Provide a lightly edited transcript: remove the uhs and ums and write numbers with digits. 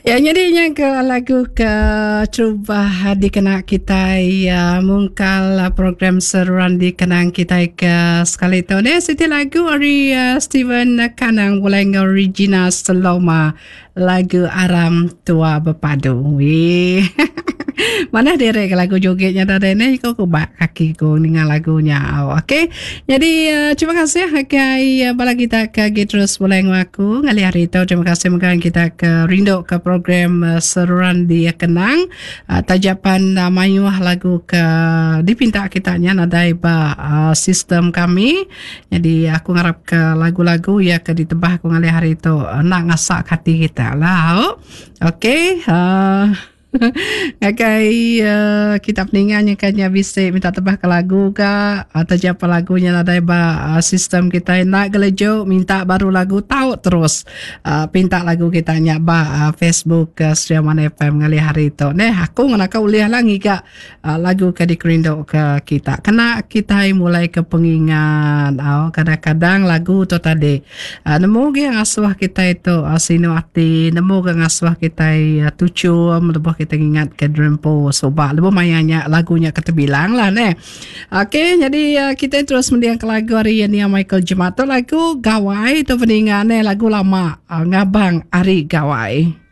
Ya nyadi nya ke lagu ke terubah dikena kitai uh, mungkal uh, program seruran dikenang kitai ke sekali tu ni siti lagu ari uh, Steven Kanang bulai enggau Regina Seloma lagu Aram Tua Bepadu. Wee. Manah diri ke lagu joget nya tadi ni ko ku ba kaki ku ninga lagu nya. Oh, okey. Jadi uh, terima kasih agai uh, bala kita ke agi terus bulai enggau aku ngalih hari tu. Terima kasih mega kita ke rindu ke program uh, seruran di kenang. Uh, tajapan uh, mayuh lagu ke dipinta kita nya nadai ba uh, sistem kami. Nyadi aku ngarap ke lagu-lagu iya ke ditebah aku ngalih hari tu enda ngasak hati kita lah. Okey. Uh, ngagai uh, kita peninga nya kan nya bisi minta tebah ke lagu ka atau japa lagu nya nadai ba uh, sistem kita enda gelejo minta baru lagu tau terus uh, pinta lagu kita nya ba uh, Facebook uh, Seria Mana FM ngalih hari tu neh aku ngenaka ulih lah ngiga Lagu ke dikerindu ke kita kena kitai mulai ke pengingat au kadang-kadang lagu tu tadi nemu gi ngasuh kitai tu sinu ati nemu ga ngasuh kitai tuchum lebuh kitai ngingat ke diri empu suba lebuh maya nya lagu nya ke tebilang lah neh. Okey nyadi kitai terus mending ke lagu ari Nia Michael Jemat tu lagu Gawai tu peninga neh lagu lama ngabang ari Gawai.